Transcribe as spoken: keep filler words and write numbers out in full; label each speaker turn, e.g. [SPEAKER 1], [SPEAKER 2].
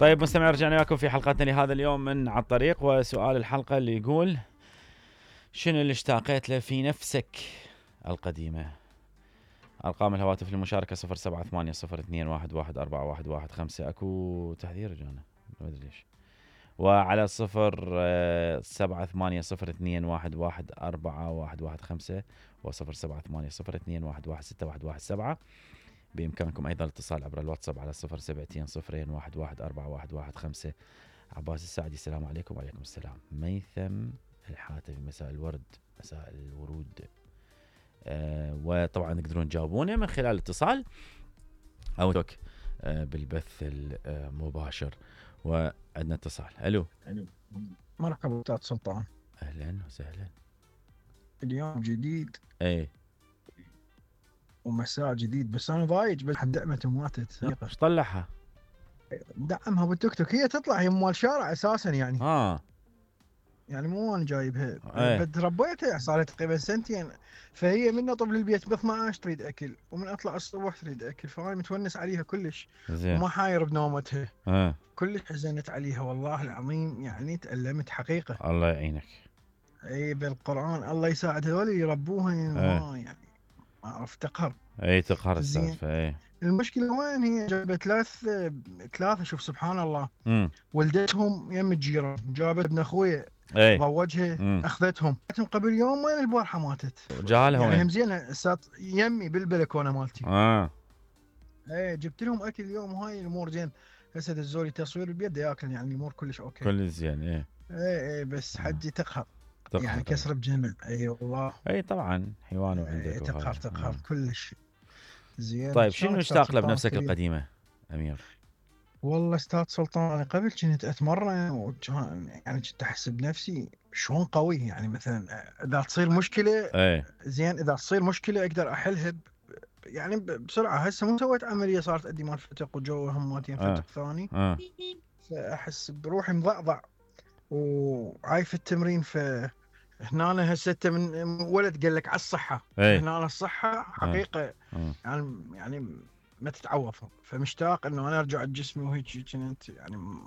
[SPEAKER 1] طيب مستمعين، رجعنا وياكم في حلقتنا لهذا اليوم من على الطريق، وسؤال الحلقة اللي يقول: شنو اللي اشتاقت له في نفسك القديمة؟ أرقام الهواتف للمشاركة صفر سبعة ثمانية صفر اثنين واحد واحد أربعة واحد واحد خمسة. أكو تحذير جانا ما أدري ليش. وعلى صفر سبعة ثمانية صفر اثنين واحد واحد أربعة واحد واحد خمسة وصفر سبعة ثمانية صفر اثنين واحد واحد ستة واحد واحد سبعة. بإمكانكم أيضا الاتصال عبر الواتساب على صفر سبعتين صفرين واحد واحد أربعة واحد واحد خمسة. عباس السعدي، السلام عليكم. وعليكم السلام. ميثم الحاتفي، مساء الورد، مساء الورود. آه وطبعا تقدرون تجاوبونا من خلال الاتصال أو توك آه بالبث المباشر. وعندنا اتصال. ألو.
[SPEAKER 2] ألو. مرحبا أستاذ سلطان.
[SPEAKER 1] أهلا وسهلا.
[SPEAKER 2] اليوم جديد.
[SPEAKER 1] ايه.
[SPEAKER 2] ومساء جديد، بس انا ضايج بس دعمت وماتت.
[SPEAKER 1] ايش طلعها؟
[SPEAKER 2] دعمها بالتوك توك، هي تطلع هي مال شارع اساسا يعني.
[SPEAKER 1] اه
[SPEAKER 2] يعني مو انا جايبها.
[SPEAKER 1] ايه.
[SPEAKER 2] تربيتها صار لها تقريبا سنتين، فهي من اطب للبيت ب اثنا عشر تريد اكل، ومن اطلع الصبح تريد اكل، فانا متونس عليها كلش.
[SPEAKER 1] زين.
[SPEAKER 2] وما حاير بنومتها.
[SPEAKER 1] اه
[SPEAKER 2] كلش حزنت عليها والله العظيم، يعني تألمت حقيقة.
[SPEAKER 1] الله يعينك.
[SPEAKER 2] اي بالقرآن الله يساعد هذول يربوها. ما يعني ما اعرف تقهر.
[SPEAKER 1] اي تقهر
[SPEAKER 2] زين.
[SPEAKER 1] السالفة. اي
[SPEAKER 2] المشكلة وين هي؟ جابت ثلاث ثلاثة شوف سبحان الله.
[SPEAKER 1] امم
[SPEAKER 2] ولدتهم يم الجيران، جابت ابن اخوي
[SPEAKER 1] اي
[SPEAKER 2] ضوجها.
[SPEAKER 1] مم.
[SPEAKER 2] اخذتهم قبل يومين، البارحة ماتت.
[SPEAKER 1] جالها
[SPEAKER 2] يعني هم
[SPEAKER 1] وين؟
[SPEAKER 2] زينة سات يمي بالبلكونة مالتي.
[SPEAKER 1] اه
[SPEAKER 2] ايه جبت لهم اكل اليوم، وهاي الامور زين. هسه الزولي تصوير بيده ياكل، يعني الامور كلش اوكي.
[SPEAKER 1] كل زين. ايه
[SPEAKER 2] ايه ايه بس
[SPEAKER 1] آه.
[SPEAKER 2] حجي تقهر.
[SPEAKER 1] تقهر
[SPEAKER 2] يعني
[SPEAKER 1] طبعا.
[SPEAKER 2] كسر بجمع. اي والله.
[SPEAKER 1] اي طبعا حيوان وعندك.
[SPEAKER 2] ايه تقهر تقهر
[SPEAKER 1] آه.
[SPEAKER 2] كلش. زين.
[SPEAKER 1] طيب
[SPEAKER 2] شلونك
[SPEAKER 1] شنو
[SPEAKER 2] أستاذ
[SPEAKER 1] اشتاق له
[SPEAKER 2] سلطان
[SPEAKER 1] بنفسك
[SPEAKER 2] كريم؟
[SPEAKER 1] القديمة أمير؟
[SPEAKER 2] والله استاذ سلطان، انا قبل كنت اتمرن، وكان يعني كنت احس بنفسي شلون قوي. يعني مثلا اذا تصير مشكله
[SPEAKER 1] ايه
[SPEAKER 2] زين، اذا تصير مشكله اقدر احلها ب... يعني ب- بسرعه. هسه مو سويت عمليه، صارت ادي مال فتق وجو هماتين
[SPEAKER 1] اه
[SPEAKER 2] فتق ثاني.
[SPEAKER 1] اه
[SPEAKER 2] فاحس بروحي مضعضع وعايف التمرين. ف هنا أنا هسه أنت من ولد قال لك على الصحه.
[SPEAKER 1] ايه
[SPEAKER 2] هنا الصحه حقيقه
[SPEAKER 1] اه
[SPEAKER 2] يعني يعني ما تتعوض. فمشتاق انه انا ارجع لجسمي وهيك كنت يعني